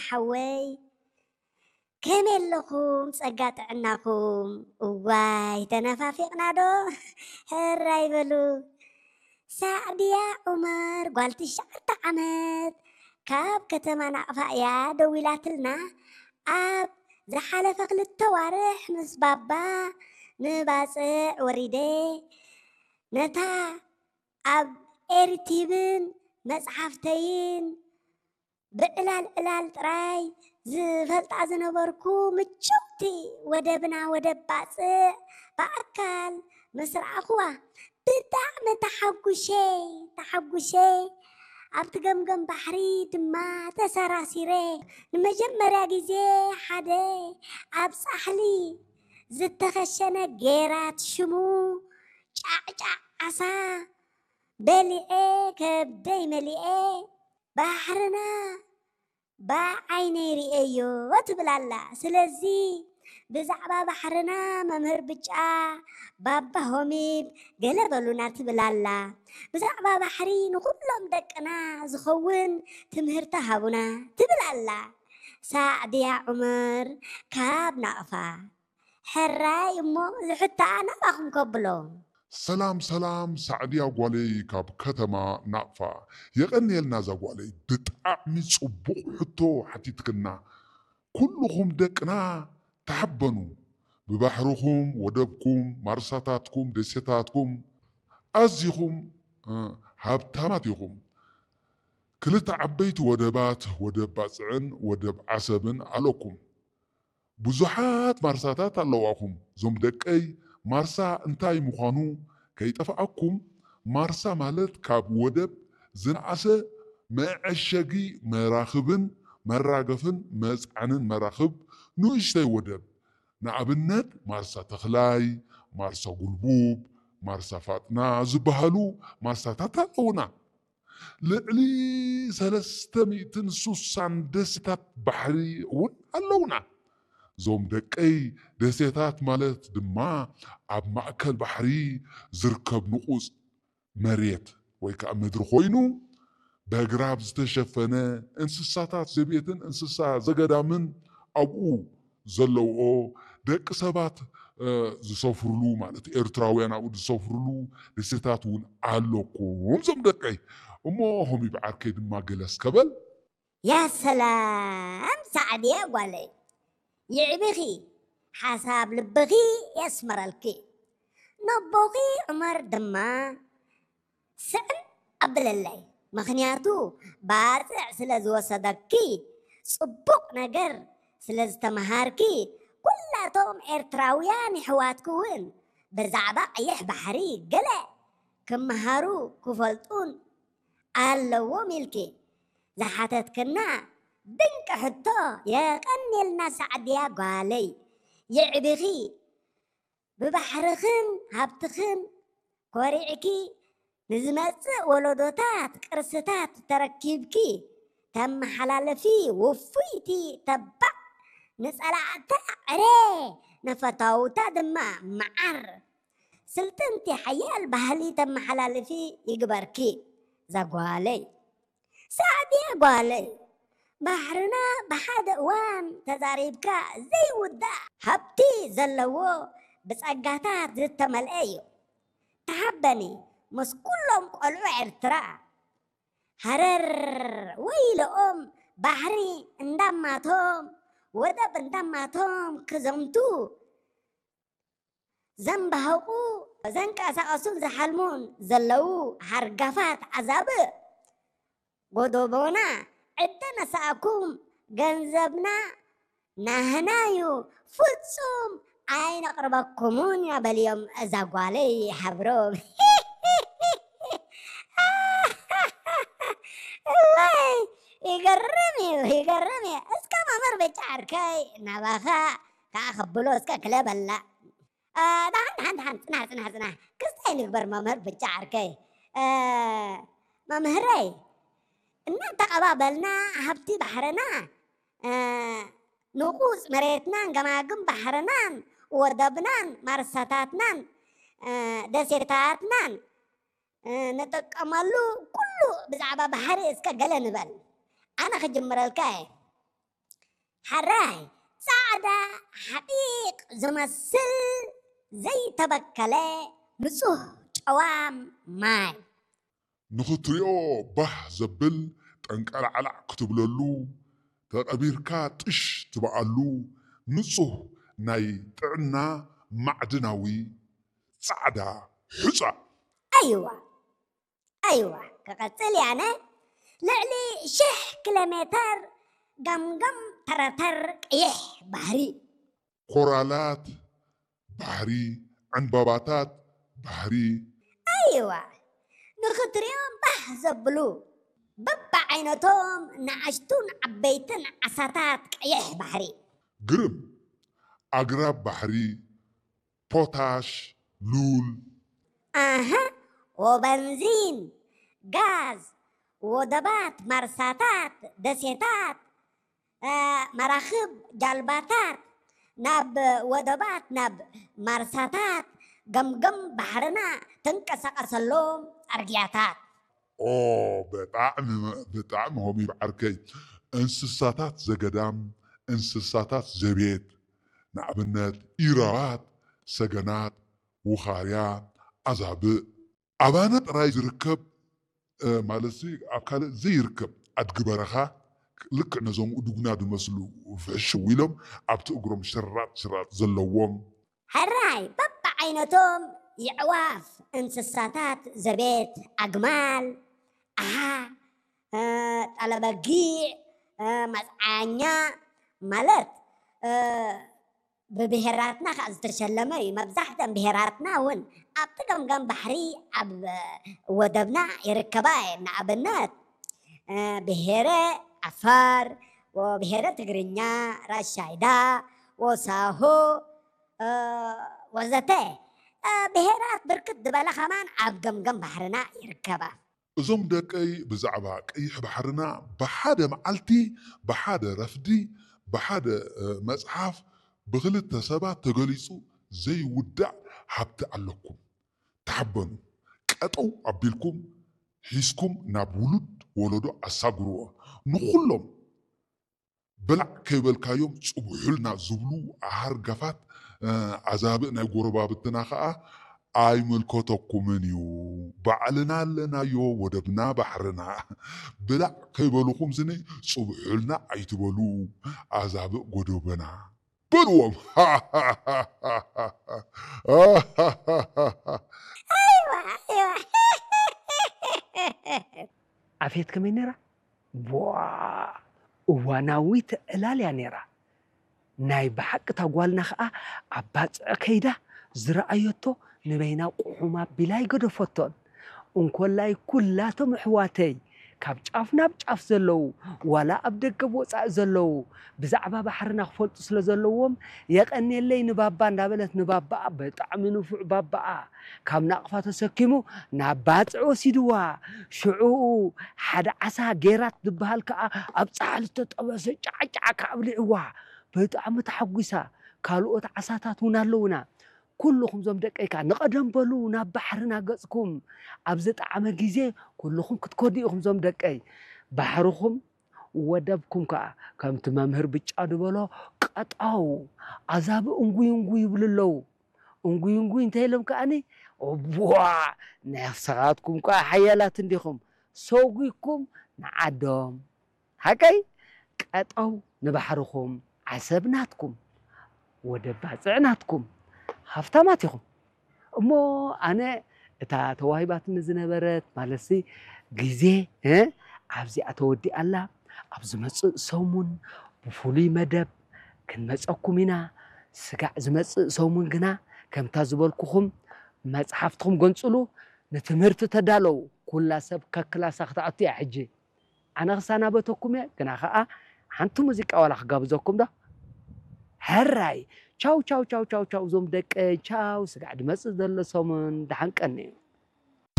ሓወይ፣ ከመይ ኣለኹም? ጸጋ ጥዕናኹም? እዋይ፣ ተነፋፊቕና ዶ? ሕራይ በሉ። ሳዕድያ ዑመር፣ ጓል ትሽዓተ ዓመት፣ ካብ ከተማ ናቕፋ እያ ደዊላትልና። ኣብ ዝሓለፈ ክልተ ዋርሕ ምስ ባባ ንባጽዕ ወሪደ፣ ነታ ኣብ ኤሪቲብን መጽሓፍተይን ብዕላል ዕላል ጥራይ ዝፈልጣ ዝነበርኩ ምችውቲ ወደብና ወደብ ባጽዕ ብኣካል ምስ ረኣኹዋ ብጣዕሚ ተሓጉሸ፣ ተሓጉሸ። ኣብቲ ገምገም ባሕሪ ድማ ተሰራሲረ። ንመጀመርያ ግዜ ሓደ ኣብ ጻሕሊ ዝተኸሸነ ጌራት ሽሙ ጫዕጫዕ ዓሳ በሊዐ፣ ከብደይ መሊኤ። ባሕርና ብዓይነይ ርእየዮ ትብል ኣላ። ስለዚ ብዛዕባ ባሕርና መምህር ብጫ፣ ባባ ሆሚብ፣ ገለ በሉና ትብል ኣላ። ብዛዕባ ባሕሪ ንኹሎም ደቅና ዝኸውን ትምህርቲ ሃቡና ትብል ኣላ። ሳዕድያ ዑመር ካብ ናቕፋ። ሕራይ እሞ ዝሕታ ናባኹም ከብሎ። ሰላም ሰላም፣ ሳዕድያ ጓለይ ካብ ከተማ ናቕፋ። የቐንየልና እዛ ጓለይ፣ ብጣዕሚ ጽቡቕ ሕቶ ሓቲትክና። ኩልኹም ደቅና ተሓበኑ። ብባሕርኹም፣ ወደብኩም፣ ማርሳታትኩም፣ ደሴታትኩም ኣዚኹም፣ እ፣ ሃብታማት ኢኹም። ክልተ ዓበይቲ ወደባት፣ ወደብ ባጽዕን ወደብ ዓሰብን ኣለኩም። ብዙሓት ማርሳታት ኣለዋኹም። እዞም ደቀይ፣ ማርሳ እንታይ ምዃኑ ከይጠፍኣኩም፣ ማርሳ ማለት ካብ ወደብ ዝነኣሰ መዐሸጊ መራኽብን መራገፍን መጽዓንን መራኽብ ንእሽተይ ወደብ። ንኣብነት ማርሳ ተኽላይ፣ ማርሳ ጉልቡብ፣ ማርሳ ፋጥና ዝበሃሉ ማርሳታት ኣለዉና። ልዕሊ ሰለስተ ሚእትን ስሳን ደሴታት ባሕሪ እውን ኣለዉና። እዞም ደቀይ፣ ደሴታት ማለት ድማ ኣብ ማእከል ባሕሪ ዝርከብ ንቑጽ መሬት ወይ ከዓ ምድሪ ኮይኑ፣ በግራብ ዝተሸፈነ፣ እንስሳታት ዘቤትን እንስሳ ዘገዳምን ኣብኡ ዘለውኦ፣ ደቂ ሰባት፣ እ፣ ዝሰፍርሉ ማለት ኤርትራውያን ኣብኡ ዝሰፍርሉ ደሴታት እውን ኣለኩም። እዞም ደቀይ፣ እሞ ሆሚብ ዓርከይ ድማ ገለ እስከ በል። ያ ሰላም ሳዕድያ ጓለይ፣ ይዕቢኺ፣ ሓሳብ ልብኺ የስመረልኪ። ነቦኺ ዑመር ድማ ስዕም ኣብለለይ፣ ምኽንያቱ ባጽዕ ስለ ዝወሰደኪ፣ ጽቡቕ ነገር ስለ ዝተመሃርኪ፣ ኩላቶም ኤርትራውያን የሕዋትኪ እውን ብዛዕባ ቀይሕ ባሕሪ ገለ ክመሃሩ ክፈልጡን ኣለዎም ኢልኪ ዝሓተትክና ድንቂ ሕቶ። የቐንየልና ሳዕድያ ጓለይ፣ የዕቢኺ። ብባሕርኽን ሃብትኽን ኮሪዕኪ ንዝመጽእ ወለዶታት ቅርስታት ተረኪብኪ ተመሓላልፊ ውፉይቲ ተባዕ፣ ንጸላእታ ዕረ፣ ንፈታውታ ድማ መዓር፣ ስልጥንቲ ሓያል ባህሊ ተመሓላልፊ ይግበርኪ ዛጓለይ። ሳዕድያ ጓለይ፣ ባሕርና ብሓደ እዋን ተዛሪብካ ዘይውዳእ ሃብቲ ዘለዎ ብጸጋታት ዝተመልአ እዩ። ተሓበኒ ምስ ኩሎም ቆልዑ ኤርትራ። ሃረር ወይለኦም፣ ባሕሪ እንዳማቶም፣ ወደብ እንዳማቶም ክዘምቱ ዘንባህቑ፣ ዘንቀሳቐሱን ዝሓልሙን ዘለዉ ሃርጋፋት ኣዛብእ፣ ጎዶቦና ዕደ ነሳእኩም፣ ገንዘብና ናህናዩ፣ ፍጹም ኣይነቕርበኩሙን ኢና በልዮም እዛ ጓለይ ሃብሮም። እዋይ፣ ይገርም እዩ፣ ይገርም እዩ። እስከ መምህር ብጫ ዓርከይ ናባኻ ከኣ ከብሎ እስከ ክለበላ። እ፣ ደሓን፣ ደሓን፣ ደሓን፣ ጽናሕ፣ ጽናሕ፣ ጽናሕ። ክስታይ ንግበር መምህር ብጫ ዓርከይ። እ፣ መምህረይ፣ እናተቐባበልና ሃብቲ ባሕርና፣ እ፣ ንቑጽ መሬትናን ገማግም ባሕርናን ወደብናን ማርሳታትናን፣ እ፣ ደሴታትናን፣ እ፣ ንጥቀመሉ ኩሉ ብዛዕባ ባሕሪ እስከ ገለ ንበል። ኣነ ክጅምረልካ እየ። ሕራይ ጻዕዳ ሓጢቕ ዝመስል ዘይተበከለ ንጹህ ጨዋም ማይ። ንኽትሪኦ ባህ ዘብል ጠንቀላዕላዕ ክትብለሉ፣ ተቐቢርካ ጥሽ ትብኣሉ ንጹህ ናይ ጥዕና ማዕድናዊ ጻዕዳ ሑጻ። ኣይዋ፣ ኣይዋ፣ ክቐጽል እየ ኣነ። ልዕሊ ሽሕ ኪሎ ሜተር ገምገም ተረተር ቀይሕ ባሕሪ። ኮራላት ባሕሪ፣ ዕንበባታት ባሕሪ። ኣይዋ፣ ንኽትሪኦም ባህ ዘብሉ በብዓይነቶም ንኣሽቱን ዓበይትን ዓሳታት ቀይሕ ባሕሪ። ግርም ኣግራብ ባሕሪ፣ ፖታሽ፣ ሉል። ኣሃ፣ ወበንዚን፣ ጋዝ፣ ወደባት፣ ማርሳታት፣ ደሴታት፣ እ፣ መራኽብ፣ ጃልባታት፣ ናብ ወደባት፣ ናብ ማርሳታት፣ ገምገም ባሕርና ትንቀሳቐሰሎም ጻርግያታት። ኦ፣ ብጣዕሚ፣ ብጣዕሚ ሆም ይብዓርከይ። እንስሳታት ዘገዳም፣ እንስሳታት ዘቤት፣ ንኣብነት ኢራባት፣ ሰገናት፣ ውኻርያ፣ ኣዛብእ። ኣባና ጥራይ ዝርከብ፣ እ፣ ማለትሲ ኣብ ካልእ ዘይርከብ ኣድጊ በረኻ፣ ልክዕ ነዞም እዱግና ዝመስሉ ፍሕሽው ኢሎም ኣብቲ እግሮም ሽራጥ ሽራጥ ዘለዎም። ሕራይ በብዓይነቶም የዕዋፍ፣ እንስሳታት ዘቤት፣ ኣግማል፣ ኣሃ፣ እ፣ ጠለበጊዕ፣ እ፣ መጽዓኛ ማለት፣ እ፣ ብብሄራትና ከኣ ዝተሸለመ እዩ። መብዛሕተን ብሄራትና እውን ኣብቲ ገምገም ባሕሪ ኣብ ወደብና ይርከባ እየን። ንኣብነት፣ እ፣ ብሄረ ዓፋር፣ ወብሄረ ትግርኛ፣ ራሻይዳ፣ ወሳሆ፣ እ፣ ወዘተ፣ እ፣ ብሄራት ብርክት ዝበላ ከማን ኣብ ገምገም ባሕርና ይርከባ። እዞም ደቀይ ብዛዕባ ቀይሕ ባሕርና ብሓደ መዓልቲ፣ ብሓደ ረፍዲ፣ ብሓደ፣ እ፣ መጽሓፍ ብኽልተ ሰባት ተገሊጹ ዘይውዳእ ሃብቲ ኣለኩም። ተሓበኑ። ቀጠው ኣቢልኩም ሒዝኩም ናብ ውሉድ ወለዶ ኣሳግርዎ። ንኹሎም ብላዕ ከይበልካዮም ጽብሑልና ዝብሉ ሃርጋፋት፣ እ፣ ኣዛብእ ናይ ጎረባብትና ኸኣ ኣይምልከተኩምን እዩ። ባዕልና ኣለናዮ ወደብና ባሕርና። ብላዕ ከይበልኹም ስኒ ጽብሑልና ኣይትበሉ ኣዛብእ ጎደቦና በልዎም። ኣይዋ፣ ኣይዋ። ኣፌት ከመይ ነይራ? ቧ! እዋናዊት ዕላል እያ ነይራ። ናይ ብሓቂ እታ ጓልና ኸኣ ኣብ ባጽዕ ከይዳ ዝረኣየቶ ንበይና ቁሑም ኣቢላ ኣይገደፈቶን። እንኮላይ ኩላቶም ኣሕዋተይ ካብ ጫፍ ናብ ጫፍ ዘለዉ፣ ዋላ ኣብ ደገ ብወጻኢ ዘለዉ፣ ብዛዕባ ባሕርና ክፈልጡ ስለ ዘለዎም፣ የቐንየለይ ንባባ እንዳበለት፣ ንባባኣ ብጣዕሚ ንፉዕ ባባኣ ካብ ናቕፋ ተሰኪሙ ናብ ባጽዕ ወሲድዋ። ሽዑ ሓደ ዓሳ ጌራት ዝበሃል ከኣ ኣብ ጻሕሊ ዝተጠበሰ ጫዕጫዕ ኣብሊዕዋ። ብጣዕሚ ተሓጒሳ። ካልኦት ዓሳታት እውን ኣለዉና። ኩልኹም ዞም ደቀይ ከኣ ንቐደም በሉ ናብ ባሕርና ገጽኩም። ኣብ ዝጠዓመ ግዜ ኩልኹም ክትከዱ ኢኹም ዞም ደቀይ። ባሕርኹም ወደብኩም ከኣ ከምቲ መምህር ብጫ ዝበሎ ቀጠው። ኣዛብእ እንጉይ እንጉይ ይብሉ ኣለዉ። እንጉይ እንጉይ እንተ ኢሎም ከኣኒ፣ እቧ፣ ንስኻትኩም ከኣ ሓያላት እንዲኹም። ሰጒግኩም ንዓዶም። ሓቀይ? ቀጠው ንባሕርኹም፣ ዓሰብ ናትኩም፣ ወደብ ባጽዕ ናትኩም፣ ሃፍታማት ኢኹም። እሞ ኣነ እታ ተዋሂባትኒ ዝነበረት ማለትሲ ግዜ፣ እ፣ ኣብዚኣ ተወዲኣ ኣላ። ኣብ ዝመጽእ ሰሙን ብፍሉይ መደብ ክንመጸኩም ኢና። ስጋዕ ዝመጽእ ሰሙን ግና ከምታ ዝበልኩኹም መጽሓፍትኹም ገንጽሉ፣ ንትምህርቲ ተዳለዉ። ኩላ ሰብ ከክላሳ ክትኣቱ እያ ሕጂ። ኣነ ክሰናበተኩም እየ፣ ግና ኸኣ ሓንቲ ሙዚቃ ዋላ ክጋብዘኩም ዶ? ሕራይ። ቻው፣ ቻው፣ ቻው፣ ቻው፣ ቻው፣ እዞም ደቀይ፣ ቻው። ስጋዕ ድመጽእ ዘሎ ሰሙን፣ ደሓን ቀንዩ።